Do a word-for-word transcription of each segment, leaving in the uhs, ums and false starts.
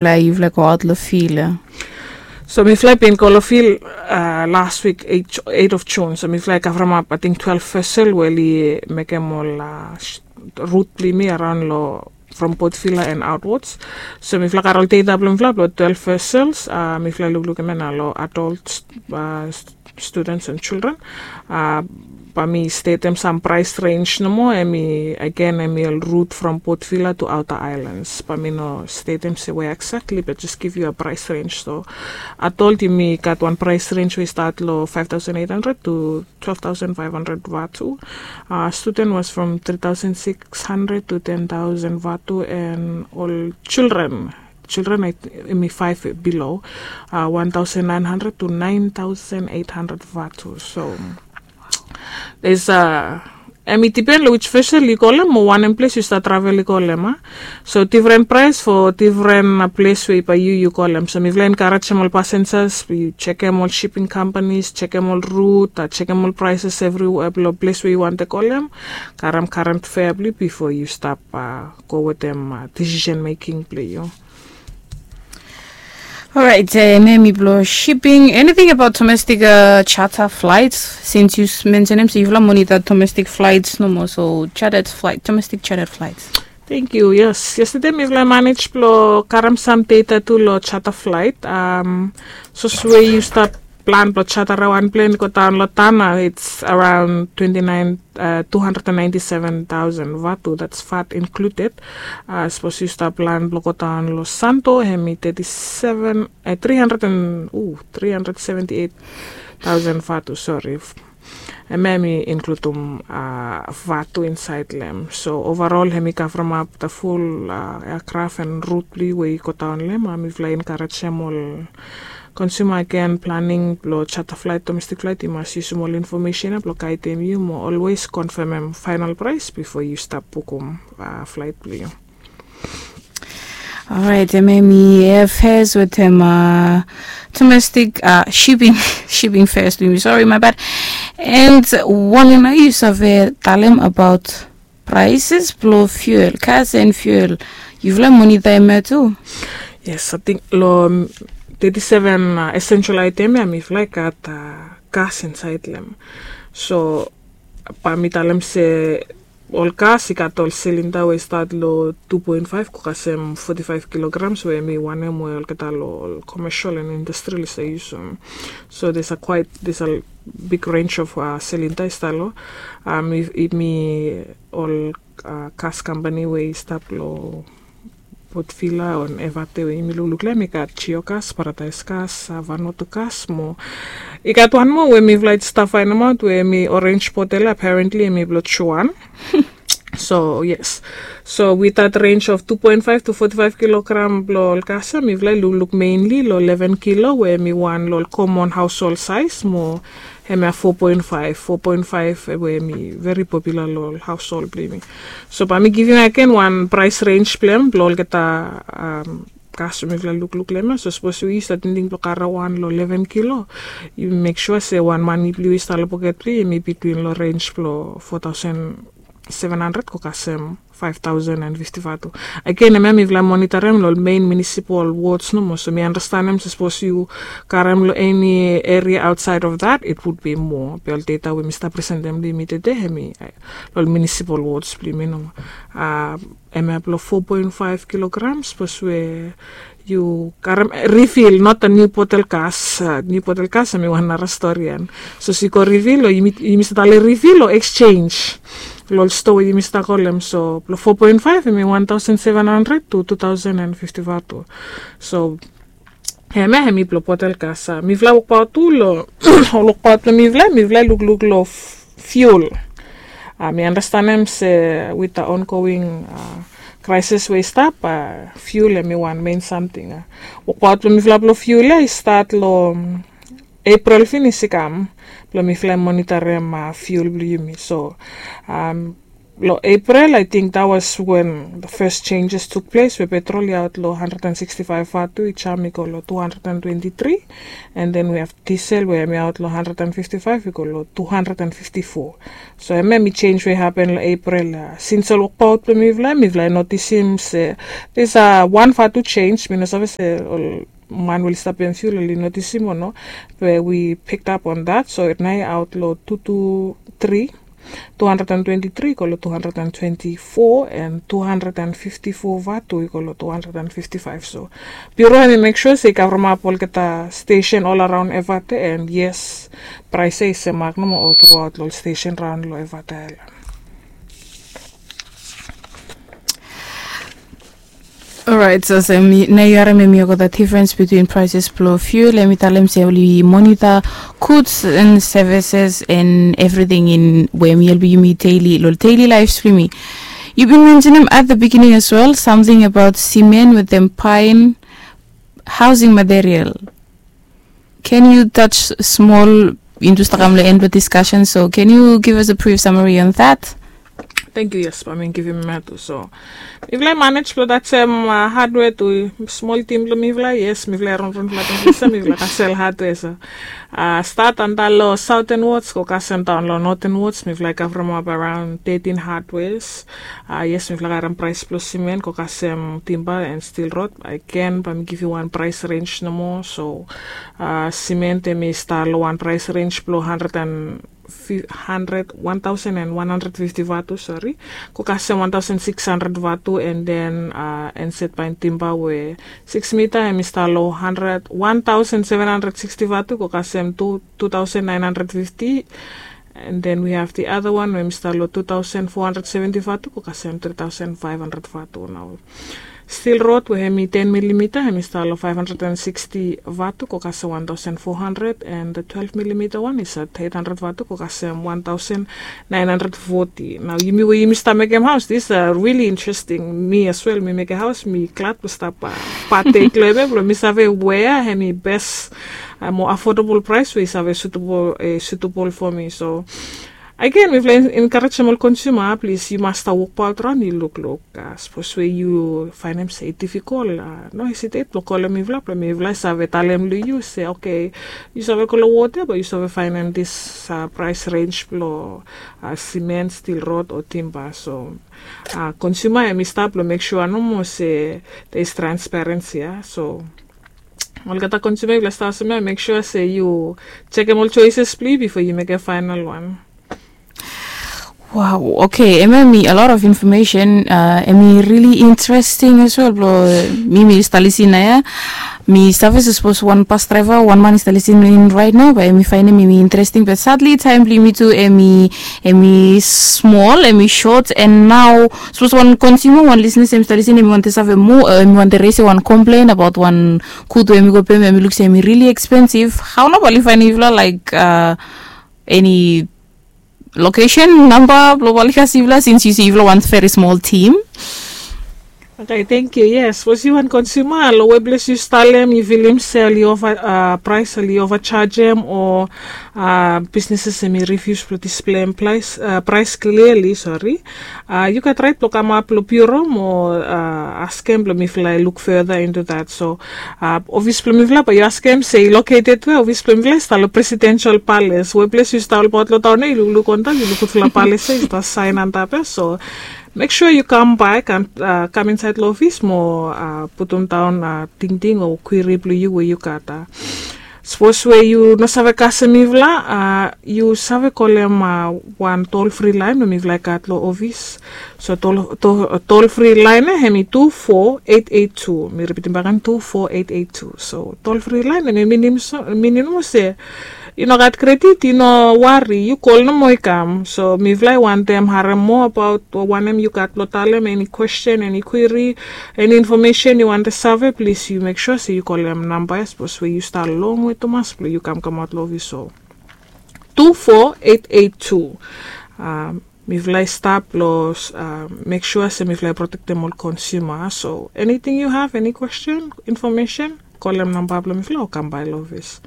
Mifala i yufala go aot long fil ya. So mifala i bin go long fil las wik, eight of June. So mifala i kavremap ating twelve vesel we oli mekem ol rut blong yumi araon long from Port Vila and outwards. So mifala gat ol data blong mifala blong twelve vessels. Mifala i lukluk hemia nao long adult students and children. Bae mi stetem sam price range nomo, hemi again hemi ol route from Port Vila to outer islands. Bae mi no stetem se where exactly, but just give you a price range. So adult yumi gat wan price range we i start long five thousand eight hundred to twelve thousand five hundred vatu. Student was from three thousand six hundred to ten thousand vatu, and ol children, children hemi five below, one thousand nine hundred to nine thousand eight hundred vatu. So there's a, hemi dipen long which vessel yu kolem mo wanem ples yu stap travel i kolem a. So different price for different ples we bae yu yu kolem. So mifala i encouragem ol passengers, yu jekem ol shipping companies, jekem ol route, jekem ol prices evriwea blong ples we yu wantem kolem. Karem current fare blong yu bifo yu stap go wetem decision making blong yu. Alright, hemia hemi blong shipping. Anything about domestic charter flights? Since yu mensenem se yufala monitor domestic flights nomo, so chartered flight, domestic chartered flights. Thank you. Yes, yestede mifala i manage blong karem sam data tu long charter flight. Sapos we yu stap plan blong charter wan plen i go daon long Tanna, it's around twenty nine, two hundred and ninety seven thousand vatu, that's vat included. Sapos yu stap plan blong go daon long Santo, hemi thirty seven, three hundred and, three hundred seventy eight thousand vatu, sorry. Hemia hemi includem vatu insaed long hem. So overall hemi kavremap the full aircraft and route blong yu we yu go daon long hem. Mifala i encouragem ol consumer, again, planning blong charter flight, domestic flight, yu mas yusum ol information ya blong guidem yu mo always confirmem final price bifo yu stap bukum flight blong yu. Alright, hemia hemi airfares wetem domestic shipping, shipping fares blong yumi, sorry, my bad. And wanem nao yu save talem about prices blong fuel, gas and fuel? Yufala monitor hemia tu? Yes, ating long thirty seven essential item ya mifala i gat gas insaed long hem. So bae mi talem se ol gas i gat ol silinda we i stat long two point five go kasem forty five kilograms, we hemi wanem we olgeta long ol commercial and industrial i save yusum. So there's a quite, there's a big range of silinda i stat long. Hemi ol gas company we i stap long Port Vila o Evate we yumi lukluk long hem, i gat Geogas, Paradise Gas, Vanuatu Gas mo i gat wan moa we mifala i stap faenemaot we hemi Orange Bottle, apparently hemi blong Johan. So yes, so with that range of two point five to forty five kilogram blong ol gas ya, mifala i lukluk mainly long eleven kilo we hemi wan long ol common household size mo hemia four point five, four point five we hemi very popular long ol household blong yumi. So bae mi givim agen wan price range blong hem blong olgeta gas we mifala i lukluk long hem ya. So sapos we yu stap tingting blong karem wan long eleven kilo, yu mek sua se wan mane blong yu we i stap long poket blong yu hemi between long range blong four thousand seven hundred go kasem five thousand and fifty vatu. Agen hemia mifala i monitorem long ol main municipal wards nomo. So mi andastanem se sapos yu karem long eni area outside of that, it would be more. Be ol data we mi stap presentem long yumi tede hemi long ol municipal wards blong yumi nomo. Hemia blong four point five kilograms, sapos we yu karem refill, not a new bottle gas. New bottle gas hemi wan nara stori ya. So sapos yu go refill o yumi stap talem refill o exchange long ol stoa we yumi stap kolem. So blong four point five hemi one thousand seven hundred to two thousand and fifty vatu. So hemia hemi blong bottle gas. Mifala wokbaot tu long ol wokbaot blong mifala, mifala i lukluk long fuel. Mi andastanem se with the ongoing crisis we i stap, fuel hemi wan main samting. Wokbaot blong mifala blong fuel ya i stat long April finis i kam, blong mifala i monitorem fuel blong yumi. So Long April, I think that was when the first changes took place, we petrol i aot long hundred and sixty-five vatu, i jam i go long two hundred and twenty-three, and then we have diesel we hemi aot long hundred and fifty-five i go long two hundred and fifty-four. So hemia hemi change we happen long April. Since ol wokbaot blong mifala, mifala i notisim se there's a one vatu change. Mi no save se ol man we oli stap pem fuel oli notisim o no, be we picked up on that. So nao i aot long two two three, two hundred and twenty-three i go long two hundred and twenty-four, and two hundred and fifty-four vatu i go long two hundred and fifty-five. So Bureau hemi make sure se i kavremap olgeta station all around Efate, and yes, price ia i semak nomo all throughout long ol station raon long Efate Island. Alright, so se mi nao yu harem hemi olgeta difference between prices blong fuel, hemi talem se oli monitor goods and services and everything in we hemi helpem yumi daily, long daily lives blong yumi. Yu bin mentionem at the beginning as well something about cement with them buying housing material. Can you touch small into stakam long end blong discussion? So can you give us a brief summary on that? Thank you, yes, bae mi givim matu. So mifala i manage blong tajem hardware tu small team blong mifala. Yes, mifala i ronron flatem blong se mifala i sel hardware. So start antap long southern wards go kasem daon long northern wards, mifala i kavremap around thirteen hardwares. Yes, mifala i karem price blong cement go kasem timba and steel rod. Again, bae mi givim wan price range nomo. So cement hemi stap long wan price range blong hundred and hundred, one thousand and one hundred fifty vatu, sorry, go kasem one thousand six hundred vatu, and then uh, enset baen timba we six mita hemi stap long hundred, one thousand seven hundred sixty vatu go kasem two, two thousand nine hundred fifty. And then we have the other one we hemi stap long two thousand four hundred seventy vatu go kasem three thousand five hundred vatu. Nao steel rod we hemi ten millimeter hemi stap long five hundred and sixty vatu go kasem one thousand four hundred, and the twelve millimeter one is at eight hundred vatu go kasem one thousand nine hundred forty. Nao yumi we yumi stap mekem haos, this a really interesting. Mi as well, mi mekem haos, mi glad blong stap patek long hemia blong mi save wea hemi bes, mo affordable price we i save suitable, suitable for mi. So again, mifala i encouragem ol consumer, plis yu mas stap wokbaot raon, yu lukluk. Sapos we yu faenem se i difficult, no hesitate blong kolem mifala blong mifala i save talem long yu se okay, yu save go long ward ia, be yu save faenem this price range blong cement, steel rod o timba. So consumer hemi stap blong make sure nomo se there is transparency ia. So olgeta consumer, mifala i stap olsem ia, make sure se yu jekem ol choices blong yu bifo yu mekem final wan. Wow, okay, hemia hemi a lot of information, hemi really interesting as well blong mi, mi stap lisin ia. Mi save se sapos wan bus driver, wan man i stap lisin in right nao, bae hemi faenem hemi interesting, but sadly taem blong yumi tu hemi, hemi small, hemi short, and nao sapos wan consumer, wan listeners hemi stap lisin, hemi wantem save moa, hemi wantem raise wan complain about wan gud we hemi go pem, hemi luk se hemi really expensive. Hao nao bae oli faenem yufala, like, eni location namba blong bae oli kasem yufala, since yu se yufala wan very small team? Okay, thank you. Yes, sapos yu wan consumer, long we ples yu stap long hem yu filim se oli ova, price oli overchargem, o businesses hemi refuse blong display price, price clearly, sorry. Yu gat rait blong kamap long bureau mo askem blong mifala i look further into that. So ofis blong mifala bae yu askem se i located wea, ofis blong mifala i stap long Presidential Palace. We ples yu stap olbaot long taon ia, yu lukluk antap, yu luk gudfala palace ia i stap saen antap ia. So make sure yu kam bae, kam, kam insaed long ofis mo putum daon tingting o query blong yu we yu gat. Sapos we yu no save kasem mifala, yu save kolem wan toll free line we mifala i gat long ofis. So toll, toll free line ia hemi two four eight eight two. Mi ripitim bakegen, two four eight eight two. So toll free line ia hemi minim, minim se yu no gat credit, yu no wari, yu kol nomo i kam. So mifala i wantem harem moa abaot wanem yu gat blong talem, eni question, eni query, eni information yu wantem save, plis yu make sure se yu kolem namba ia, sapos we yu stap longwe tumas blong yu kam kamaot long ofis. So two four eight eight two. Mifala i stap blong make sure se mifala i protektem ol consumer. So anything you have, any question, information, kolem namba blong mifala o kam bae long ofis.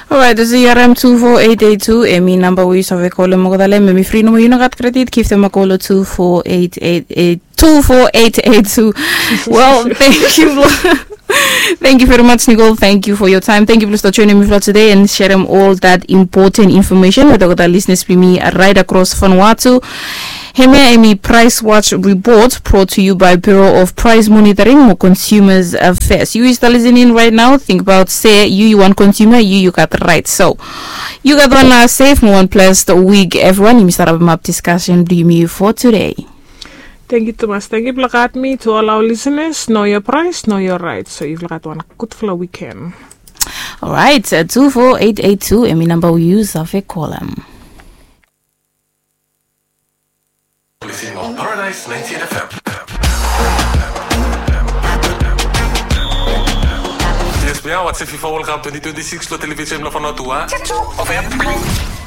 Orait, olsem yu harim tu fo eight eight two, hemi namba we yu save kolem olgeta taem, hemi fri nomo, yu no gat kredit, givim a kol lo two four eight eight eight, two four eight eight two. Well, thank you. Thank you very much, Nicole. Thank you for your time. Thank you blong stap joinim mifala today and serem ol dat important information wetem olgeta listeners blong mi right across Vanuatu. Hemia hemi Price Watch Report, brought to you by Bureau of Price Monitoring mo Consumers Affairs. Yu i stap listening right now, tingbaot se yu yu wan consumer, yu yu gat right. So yu gat wan, uh, safe mo wan blessed week, everyone. Yumi stap rapim ap discussion blong yumi for today. Thank you tumas. Thank you blong gat mi, to all our listeners. Know your price, know your right. So yufala gat wan gudfala weekend. Orait, uh, two four eight eight two, hemi namba we yu save kolem. Listening on Paradise ninety-eight F M. Yes, we are watching FIFA World Cup twenty twenty-six lo television lo Vanuatu, ah. F M.